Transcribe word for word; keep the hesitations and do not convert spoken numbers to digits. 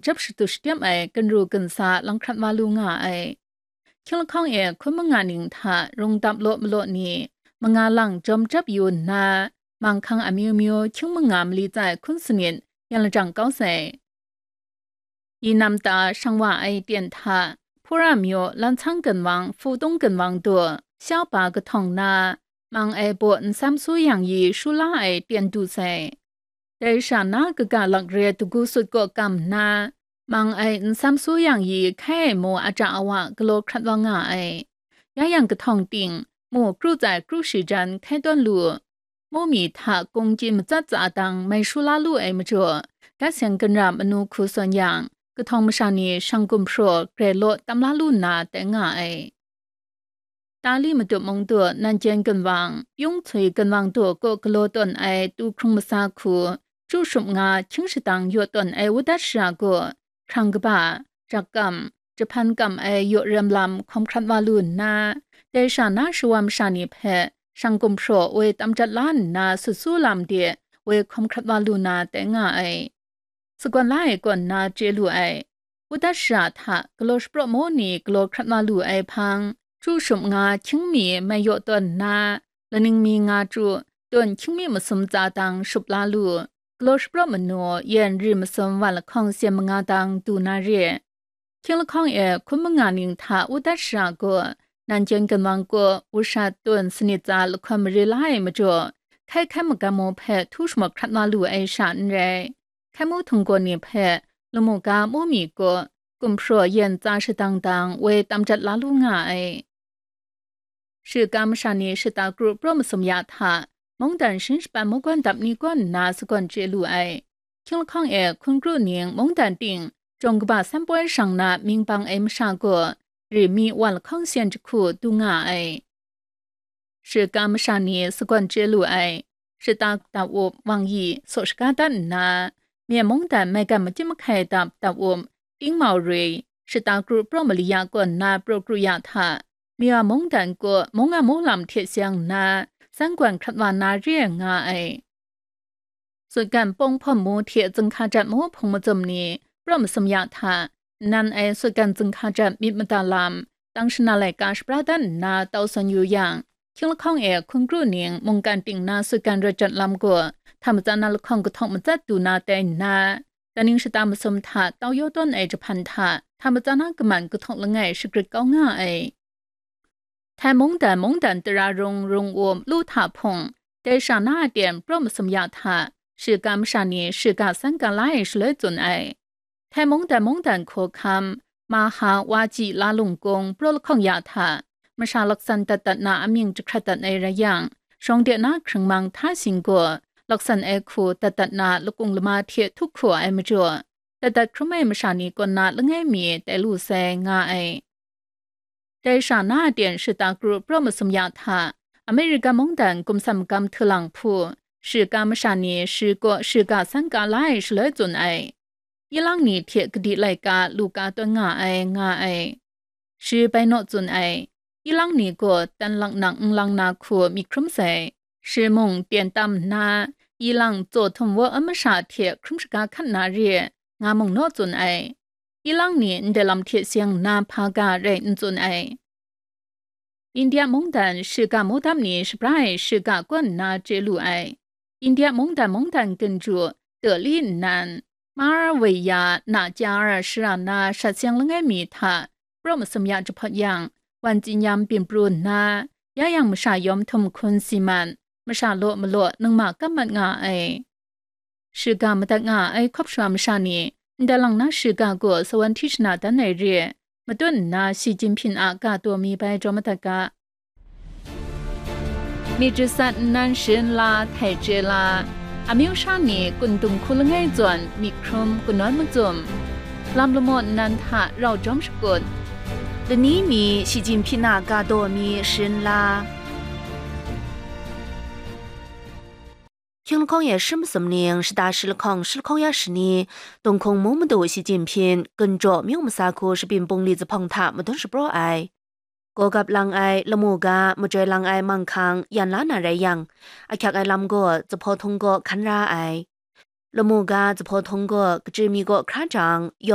jap shatu shatem ai ginru ginsa lang hkrat wa lu nga ai. Hkying lahkawng e hkun manga ning hta rung dap law malaw ni, manga lang jawm jap yu nna, manghkang amyu myu hkying manga mali tsai hkun sanit yan lajang kau sai. Yi nam ta shang wa ai ten hta, Hpura myu Lanhtsang ginwang, Hputung ginwang du, Xiaopa kahtawng na, mang ai baw nsam su yang yi shu la ai ten du sai. Dai sha na kaga lak re dagu sut kaw kam nna, mang ai nsam su yang yi hkai ai mu aja awa galaw hkrat wa nga ai. Ya yang kahtawng ting, mu kru tsai kru shi jan hkai tawn lu. Mu mi hta kung chyi matsat tsa dang mai shu la lu ai majaw, dat seng ginra manu hku sawn yang, kahtawng masha ni shang gumhpraw grai law tam la lu nna tai nga ai. Tali Matup Mung du, Nanjen ginwang, Yung Cui ginwang du kaw galaw tawn ai tu hkrung masa hku, chu shum nga hkying shadang yaw tawn ai wudat shara gaw, hkrang kaba, jak kam, jahpan kam ai yaw rem lam hkawm hkrat wa lu nna, dai sha na shawa masha ni hpe shang gumhpraw woi tam jat la nna sut su lam de woi hkawm hkrat wa lu na tai nga ai. Sagawn la ai kaw nna chye lu ai. Wudat shara hta galaw shapraw maw ni galaw hkrat wa lu ai hpang, chu shum nga hkying mi mai yaw tawn nna, laning mi nga chyu, tawn hkying mi masum tsa dang shup la lu. Galaw shapraw manu, yen ri masum wan lahkawng syen manga dang du na re. Hkying lahkawng e hkun manga ning hta wudat shara gaw, Nanjen ginwang gaw wushat tawn sanit tsa lahkawm mare la ai majaw, hkai hkai magam mu hpe htu shamat hkrat wa lu ai sha n rai. Hkai mu htung gaw ni hpe lamu ga mu mi gaw gumhpraw yen tsa shadang dang woi tam jat la lu nga ai. Shiga masha ni shata kru praw masum ya hta, mungdan shin shapan mungkan dap ni kaw nna sagawn chye lu ai. Hkying lahkawng e hkun kru ning mungdan ting, jawng kaba san poi shang na mying bang ai masha gaw, ri mi wan lahkawng syen jahku du nga ai. Shiga masha ni sagawn chye lu ai. Shata dap up, wang yi, saw shaga dat nna, myen mungdan maigan machyim mahkai dap dap up, tingmau rui, shata kru praw mali ya kaw nna praw kru ya hta, mya mungdan kaw mung a mung lam hte seng nna, san gwan hkrat wa na re ai nga ai. Sutgan pawng hpawm mu hte zinghka jat mu hpung mazum ni praw masum ya hta, nnan ai sutgan zinghka jat myit mada lam, tang shana laika shapra dan nna tau sawn yu yang, hkying lahkawng e hkun kru ning mungkan ting na sutgan rawt jat lam gaw, hta matsan na lahkawng kahtawk matsat du na tai nna, daning shata masum hta tau yaw tawn ai jahpan hta, hta matsan na kaman kahtawk langai shagrit kau nga ai. Htai mungdan mungdan tara rung rung um lu hta hpung, dai sha na a ten praw masum ya hta, shiga masha ni shiga san ga la ai shaloi tsun ai. Htai mungdan mungdan hkawhkam, Maha Waji la lung kung praw lahkawng ya hta, masha laksan dat dat na amying jahkrat dat ai rai yang, shawng de na hkringmang hta sing gaw, laksan ai hku dat dat na lakung lama hte htup hku ai majaw, dat dat hkrum ai masha ni kaw na langai mi tai lu sai nga ai. Dai sha na a ten shata kru praw masum ya hta, Amerika mungdan gumsam gam htulang hpu, shiga masha ni shi kaw shiga san ga la ai shaloi tsun ai. Ilang ni hte kadi laika lu ka tawn nga ai, nga ai. Shi bai naw tsun ai. Ilang ni gaw tan lang nang n lang na hku myit hkrum sai. Shi mung ten tam nna, ilang tsaw htum wa a masha hte hkrum shaga hkat na re, nga mung naw tsun ai. Ilang ni ndai lam hte seng nna hpa ga rai n tsun ai. India mungdan shiga mudam ni shapra ai shiga kaw nna chye lu ai. India mungdan mungdan ginju, Dali nnan, Mar Wei Ya Na Jar shara na shat seng langai mi hta, praw masum ya jahpawt yang, wan tsin yam byin pru nna, ya yang masha yawm htum hkun si man, masha law malaw ningma kam mat nga ai. Shiga madat nga ai hkawp sha masha ni, ndai lang na shiga gaw sawan hti shana dan ai re, matut nna Xi Jinping a ga taw mi bai jaw madat ga. Myit jasat nnan sharin la, htai chye la, amyu sha ni kun dung hku langai zawn myit hkrum kanawn macum, lam lamaw nnan hta rau jawm shakut, lani mi Xi Jinping a ga taw mi sharin la. Hkying lahkawng e shi masum ning, shata shi lahkawng, shi lahkawng ya shani, Tung hkung mung madu Xi Jinping, Ginjaw myu masa hku Shabyin Bungli zuphpawng hta madun shapraw ai. Gawgap lang ai, lamu ga, majoi lang ai manghkang yan la na rai yang, ahkyak ai lam gaw, zuphpawng htung gaw hkan ra ai. Lamu ga, zuphpawng htung gaw, kachyi mi gaw hkra jang, yawng